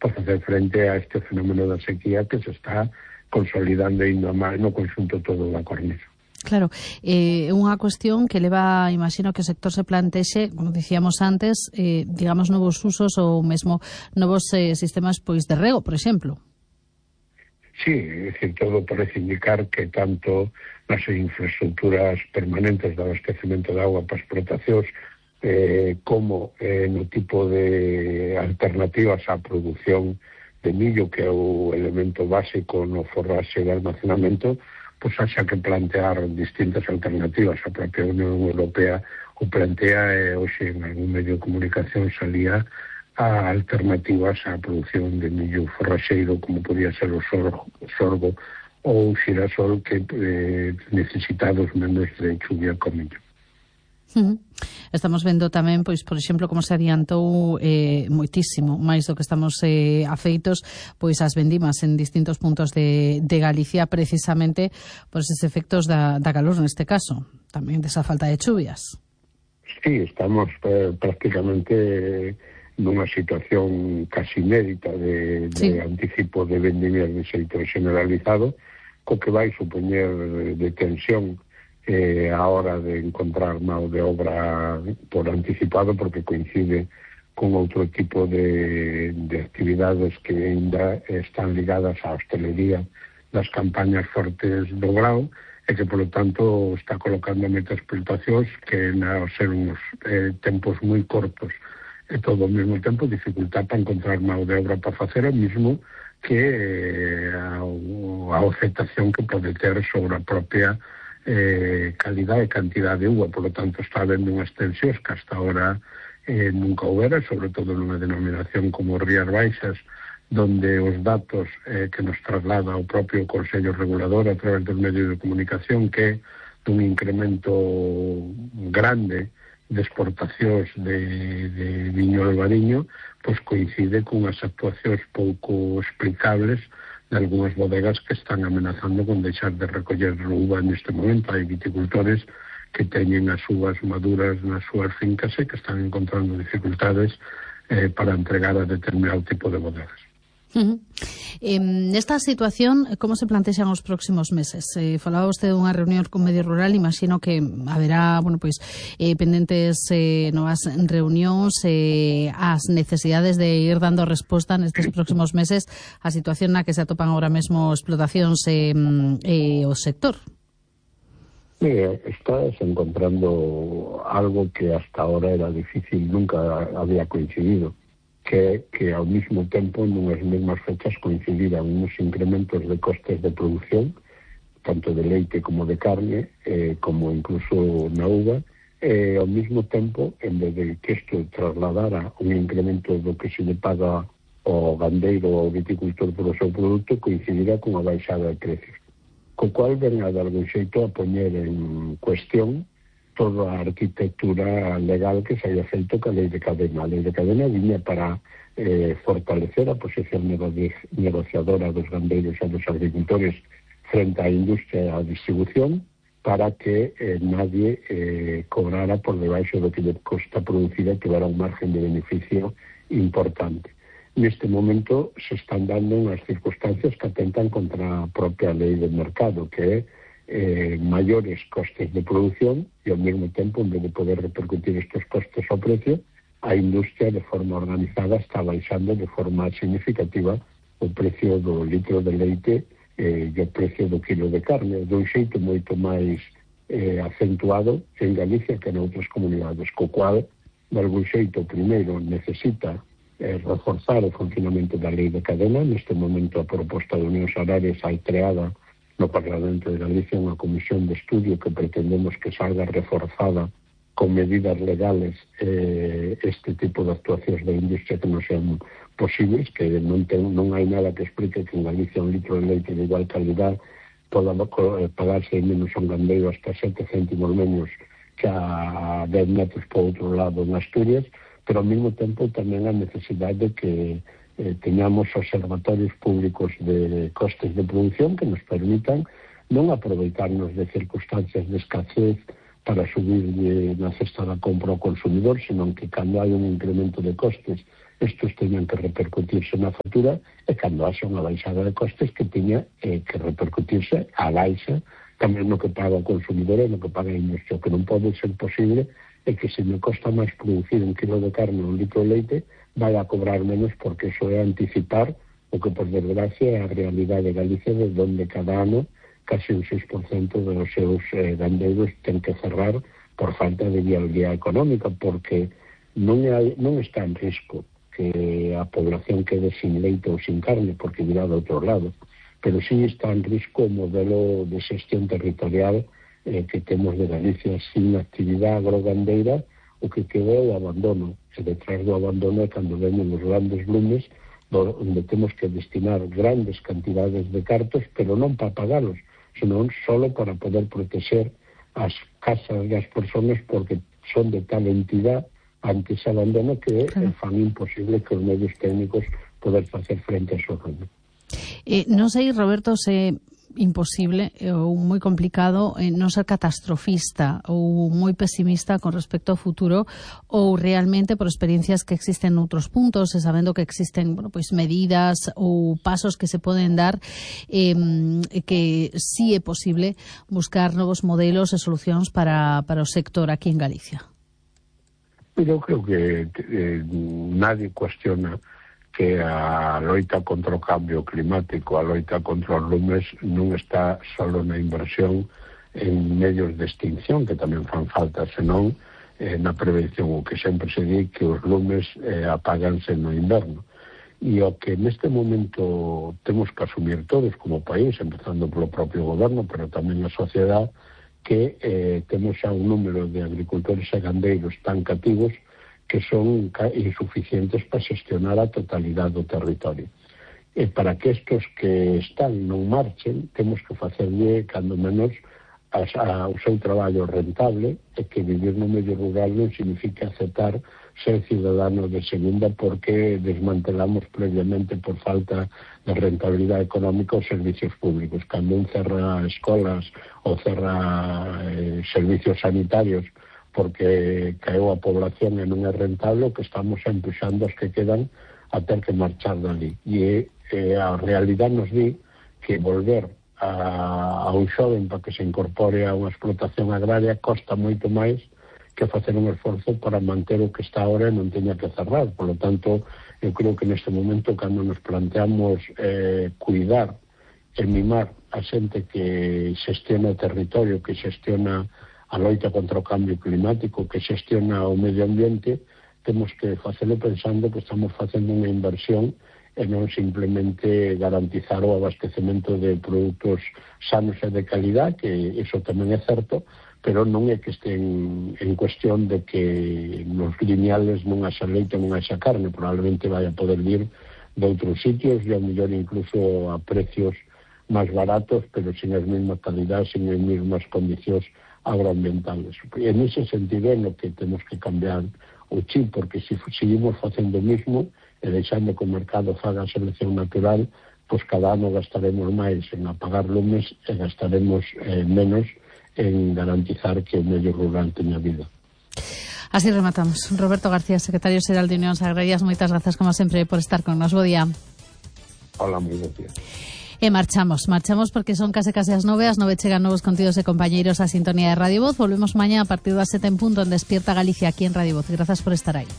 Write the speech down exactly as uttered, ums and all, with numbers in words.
para facer frente a este fenómeno da sequía que se está consolidando ainda máis no conxunto todo da cornisa. Claro, é eh, unha cuestión que leva, imagino que o sector se plantexe, como dicíamos antes, eh, digamos, novos usos ou mesmo novos eh, sistemas pois de rego, por exemplo. Sí, é dicir, todo parece indicar que tanto nas infraestructuras permanentes de abastecemento de agua para explotacións eh, como eh, no tipo de alternativas á produción de millo, que é o elemento básico no forraxe de almacenamento, pois haxa que plantear distintas alternativas. A propia Unión Europea o plantea e hoxe en algún medio de comunicación salía a alternativas á produción de millo forraxeiro, como podía ser o sorgo, sorgo ou o xirasol, que eh, necesitados menos de chuvia con millo. Uh-huh. Estamos vendo tamén, pois, por exemplo, como se adiantou eh, moitísimo, máis do que estamos eh, afeitos, pois as vendimas en distintos puntos de, de Galicia, precisamente por eses efectos da, da calor neste caso, tamén desa falta de chuvias. Sí, estamos eh, prácticamente nunha situación casi inédita de, de sí. anticipo de vendimias de xeito generalizado, co que vai supoñer de tensión Eh, a hora de encontrar mão de obra por anticipado, porque coincide con outro tipo de, de actividades que ainda están ligadas á hostelería das campañas fortes do grao e que, polo tanto, está colocando moitas explotacións que, ao ser uns eh, tempos moi cortos e todo ao mesmo tempo, dificultad para encontrar mão de obra para facer o mismo que eh, a, a afectación que pode ter sobre a propia Eh, calidad e cantidad de uva. Por lo tanto, está habendo unhas tensións que hasta ahora eh, nunca houbera, sobre todo nunha denominación como Rías Baixas, donde os datos eh, que nos traslada o propio Consello Regulador a través dos medios de comunicación, que dun incremento grande de exportacións de, de viño albariño, pois coincide con as actuacións pouco explicables de algunhas bodegas que están amenazando con deixar de recoller uva neste momento. Hai viticultores que teñen as uvas maduras nas súas fincas e que están encontrando dificultades eh, para entregar a determinado tipo de bodegas. Uh-huh. Eh, nesta situación, como se plantexan os próximos meses? Eh, falaba vostede dunha reunión con Medio Rural, imagino que haberá, bueno, pois, eh, pendentes eh, novas reunións, eh, as necesidades de ir dando resposta nestes próximos meses á situación na que se atopan agora mesmo explotacións e eh, eh, o sector. Mira, estás encontrando algo que hasta ahora era difícil, nunca había coincidido, que que ao mesmo tempo nunhas mesmas fechas coincidiran uns incrementos de costes de produción, tanto de leite como de carne, eh, como incluso na uva, e ao mesmo tempo, en vez de que isto trasladara un incremento do que se le paga ao gandeiro ou ao viticultor por o seu produto, coincidirá con a baixada de precios, co cual ven a de algún xeito a poñer en cuestión toda a arquitectura legal que se haya feito ca lei de cadena. A lei de cadena viña para eh, fortalecer a posición negociadora dos gandeiros e dos agricultores frente á industria e á distribución, para que eh, nadie eh, cobrara por debaixo do que lle costa producir e que dara un margen de beneficio importante. Neste momento se están dando unhas circunstancias que atentan contra a propia lei del mercado, que é Eh, maiores costes de producción e ao mesmo tempo, en vez de poder repercutir estes costes ao precio, a industria de forma organizada está baixando de forma significativa o precio do litro de leite eh, e o precio do kilo de carne, dun xeito moito máis eh, acentuado en Galicia que en outras comunidades, co cual, de algún xeito, primeiro necesita eh, reforzar o funcionamento da lei de cadena. Neste momento a proposta de Unións Agrarias hai creada no Parlamento de Galicia unha comisión de estudio que pretendemos que salga reforzada con medidas legales eh, este tipo de actuacións da industria que non sean posibles, que non, ten, non hai nada que explique que en Galicia un litro de leite de igual calidad poda pagarse menos a un gandeiro hasta sete céntimos menos que a dez metros por outro lado en Asturias, pero ao mesmo tempo tamén a necesidade de que Eh, teñamos observatorios públicos de costes de producción que nos permitan non aproveitarnos de circunstancias de escasez para subir de, na cesta da compra ao consumidor, senón que cando hai un incremento de costes estos teñan que repercutirse na factura, e cando haxa unha baixada de costes que teña eh, que repercutirse a baixa tamén no que paga o consumidor e no que paga a industria. O que non pode ser posible é que se me costa máis producir un kilo de carne ou un litro de leite, vai a cobrar menos, porque iso é anticipar o que, por desgracia, é a realidade de Galicia, de onde cada ano casi un seis por cento dos seus eh, gandeiros ten que cerrar por falta de viabilidade económica, porque non, hai, non está en risco que a población quede sin leite ou sin carne, porque virá do outro lado, pero sí está en risco o modelo de xestión territorial eh, que temos de Galicia. Sin actividade agrogandeira, o que queda é o abandono, e detrás do abandono é cando venen os grandes lumes, onde temos que destinar grandes cantidades de cartos, pero non para pagalos, senón solo para poder proteger as casas das persoas, porque son de tal entidade ante ese abandono que claro, fan imposible que os medios técnicos poder facer frente a súa ruina. Eh, non sei, Roberto, se imposible ou moi complicado eh, non ser catastrofista ou moi pesimista con respecto ao futuro, ou realmente por experiencias que existen noutros puntos e sabendo que existen, bueno, pois medidas ou pasos que se poden dar, eh, que sí é posible buscar novos modelos e solucións para, para o sector aquí en Galicia. Eu creo que eh, nadie cuestiona que a loita contra o cambio climático, a loita contra os lumes, non está solo na inversión en medios de extinción, que tamén fan falta, senón eh, na prevención, o que sempre se di que os lumes eh, apaganse no inverno. E o que neste momento temos que asumir todos como país, empezando polo propio goberno, pero tamén a sociedade, que eh, temos xa un número de agricultores e gandeiros tan cativos que son insuficientes para xestionar a totalidade do territorio. E para que estos que están non marchen, temos que facerlle, cando menos, a, a, o seu traballo rentable, e que vivir no medio rural non significa aceptar ser ciudadano de segunda, porque desmantelamos previamente por falta de rentabilidade económica os servicios públicos. Cando un cerra escolas ou cerra eh, servicios sanitarios porque caeu a población e non é rentable, o que estamos empuxando os que quedan a ter que marchar dali. E eh, a realidade nos di que volver a, a un xoven para que se incorpore a unha explotación agraria costa moito máis que facer un esforzo para manter o que está ahora e non teña que cerrar. Por lo tanto, eu creo que neste momento, cando nos planteamos eh, cuidar e mimar a xente que xestiona o territorio, que xestiona a loita contra o cambio climático, que xestiona o medio ambiente, temos que facelo pensando que estamos facendo unha inversión e non simplemente garantizar o abastecemento de produtos sanos e de calidad, que iso tamén é certo, pero non é que estén en cuestión de que nos lineales non haxa leite, non haxa carne, probablemente vai a poder vir de outros sitios e ao mellor incluso a precios máis baratos, pero sin as mesmas calidades, sin as mesmas condicións agroambientales. E en ese sentido é no que temos que cambiar o chip, porque se seguimos facendo o mismo e deixando que o mercado faga a selección natural, pois cada ano gastaremos máis en apagar lumes e gastaremos eh, menos en garantizar que o medio rural teña vida. Así rematamos. Roberto García, secretario xeral de Unións Agrarias, moitas grazas como sempre por estar con nos. Bo día. Hola, moi bo día. E marchamos, marchamos porque son case case as nove, as nove chegan novos contidos e compañeiros a sintonía de Radio Voz. Volvemos mañá a partir das sete en punto en Despierta Galicia aquí en Radio Voz. Grazas por estar aí.